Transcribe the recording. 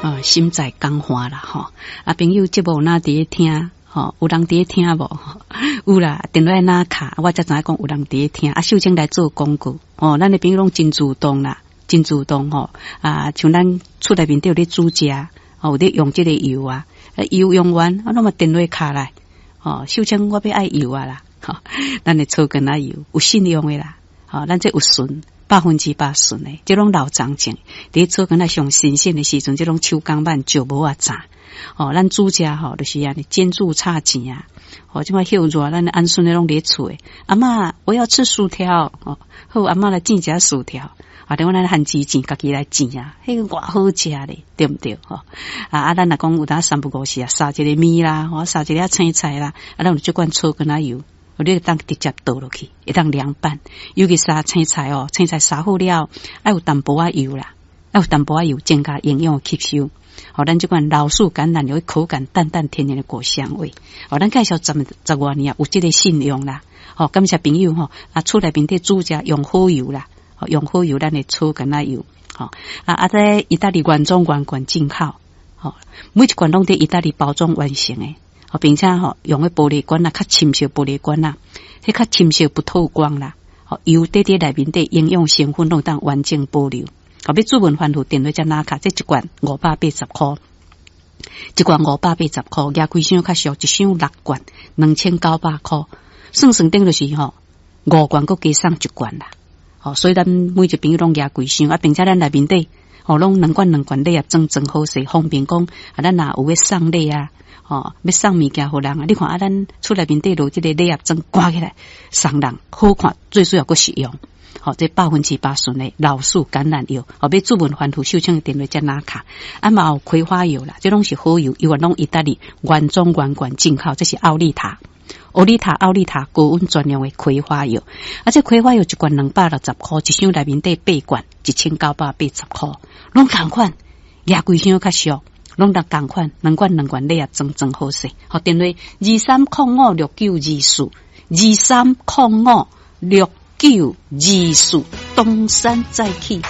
啊，心在江華啦，吼！啊，朋友節目若佇咧聽，吼，有人佇咧聽無？有啦，電話拿卡，我才知影講有人佇咧聽。啊，秀清來做廣告，哦，咱的朋友攏真主動啦，真主動吼！啊，像咱厝內面底有咧煮食，哦，有咧用這個油啊，油用完，啊，攏嘛電話敲來，哦，秀清我欲愛油啊啦，吼，咱的草根仔油有信用的啦，吼，咱這有純。100%純的，這攏老欉種，佇草根仔上新鮮的時陣，這攏手工挽石磨仔榨。哦，咱煮食吼，就是按呢煎煮炒煎啊。哦，這擺歇熱，咱按孫的攏佇厝的。阿嬤，我要吃薯條。哦，好，阿嬤來煎一下薯條。啊，等我咱番薯煎，家己來煎啊，彼個偌好食咧，對毋對？吼啊啊，咱若講有當三不五時啊，撒一个麵啦，吼，撒一个青菜啦，啊，咱有這罐草根仔油。你會當直接倒落去，會當涼拌。尤其撒青菜哦，青菜撒好了，愛有淡薄仔油啦，愛有淡薄仔油，增加營養吸收。好，咱這款老樹橄欖油，口感淡淡甜甜的果香味。好，咱介紹十外年啊，有這個信用啦。好，感謝朋友吼，啊，厝內面底煮食用好油啦，用好油，咱的草橄欖油。好，啊啊，這意大利原裝原罐進口，好，每一罐攏佇意大利包裝完成的。並且吼用的玻璃罐啊，較深色玻璃罐啊，彼較深色不透光啦。吼，油底底內面底營養成分攏當完整保留。好，欲主問吩咐電話才拿卡，這一罐580箍，一罐580箍，舉規箱較俗，一箱六罐，2900箍。算算等就是吼，五罐閣加送一罐啦。吼，所以咱每一朋友攏舉規箱啊，並且咱內面底吼攏兩罐兩罐禮盒裝裝好勢，方便講啊，咱若有欲送禮啊。吼，欲送物件予人啊！你看啊，咱厝內面底落這個禮盒裝掛起來，送人好看，最主要閣實用。吼，這100%純的老樹橄欖油，吼，欲主問吩咐秀清的電話才拿卡。啊嘛有葵花油啦，這攏是好油，油攏意大利原裝原罐進口，這是奧利塔，奧利塔奧利塔高溫專用的葵花油。啊，這葵花油一罐260箍，一箱內面底八罐，1980箍，攏仝款，舉規箱較俗。攏逐仝款，兩罐兩罐禮盒裝裝好勢。好，電話23056924，23056924，東山再起。